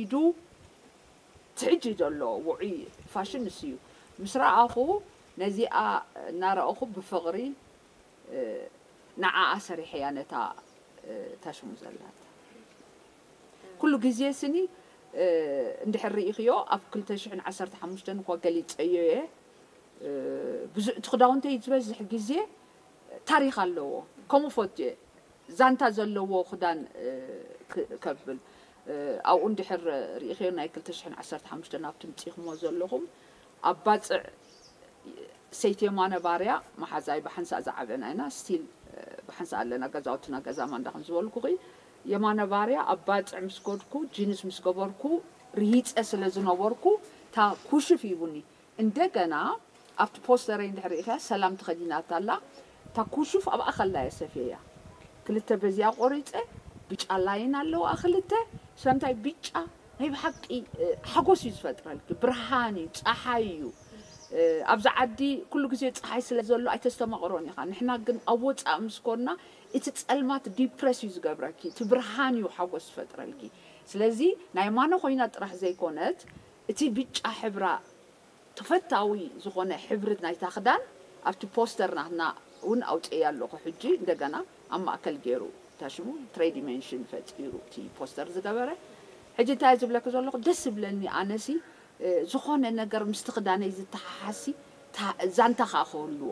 ኢዱ ትሕጂ ዘሎ ውዑይ ፋሽን ንሱ እዩ። ምስ ረኣኹ ነዚኣ እናረኣኹ ብፍቕሪ ንዓኣ ሰሪሐያ ነታ ታሽሙ ዘላታ። ኩሉ ግዜ ስኒ እንድሕር ርኢኽዮ ኣብ ክልተ ሽሕን ዓሰርተ ሓሙሽተን እኳ ገሊፀዮ እየ። ብዙ እቲ ክዳውንተይ ዝበዝሕ ግዜ ታሪኽ ኣለዎ። ከምኡ ፈትየ ዛንታ ዘለዎ ክዳን ከብል ኣብኡ እንድሕር ርኢኽዮ ናይ ክልተ ሽሕን ዓሰርተ ሓሙሽተን ኣብቲ ምፂኹሞ ዘለኹም ኣብ ባፅዕ ሰይቲ የማነ ባርያ መሓዛይ ብሓንሳእ ዝዓበና ኢና ስቲል ብሓንሳእ ኣለና ገዛውትና ገዛ ማንዳ ከም ዝበልኩኺ የማነ ባርያ ኣብ ባፅዕ ምስ ከድኩ ጂንስ ምስ ገበርኩ ርሂፀ ስለ ዝነበርኩ እታ ኩሽፍ ሂቡኒ እንደገና ኣብቲ ፖስተረይ እንድሕር ርኢኽያ ሰላም ተኸዲናታ ኣላ እታ ኩሽፍ ኣብኣ ከላ እየ ሰፍየያ ክልተ በዚኣ ቆሪፀ ብጫ ላይን ኣለዋ ክልተ ስለምንታይ ብጫ ናይ ብሓቂ ሓጎስ እዩ ዝፈጥረልኪ ብርሃን እዩ ፀሓይ እዩ ኣብዚ ዓዲ ኩሉ ግዜ ፀሓይ ስለ ዘሎ ኣይተስተማቕሮን ኢኻ ንሕና ግን ኣብ ወፃእ ምስ ኮንና እቲ ፀልማት ዲፕረስ እዩ ዝገብረኪ እቲ ብርሃን እዩ ሓጎስ ዝፈጥረልኪ ስለዚ ናይ ማነ ኮይና ጥራሕ ዘይኮነት እቲ ብጫ ሕብራ ተፈታዊ ዝኾነ ሕብሪ ናይታ ክዳን ኣብቲ ፖስተር ናትና እውን ኣውፅኤ ኣለኹ ሕጂ እንደገና ኣብ ማእከል ገይሩ ታሽሙ ትሪዲሜንሽን ፈጢሩ እቲ ፖስተር ዝገበረ ሕጂ እንታይ ዝብለኪ ዘለኹ ደስ ዝብለኒ ኣነሲ ዝኾነ ነገር ምስቲ ክዳነይ ዝተሓሓሲ ዛንታ ከዓ ክህልዎ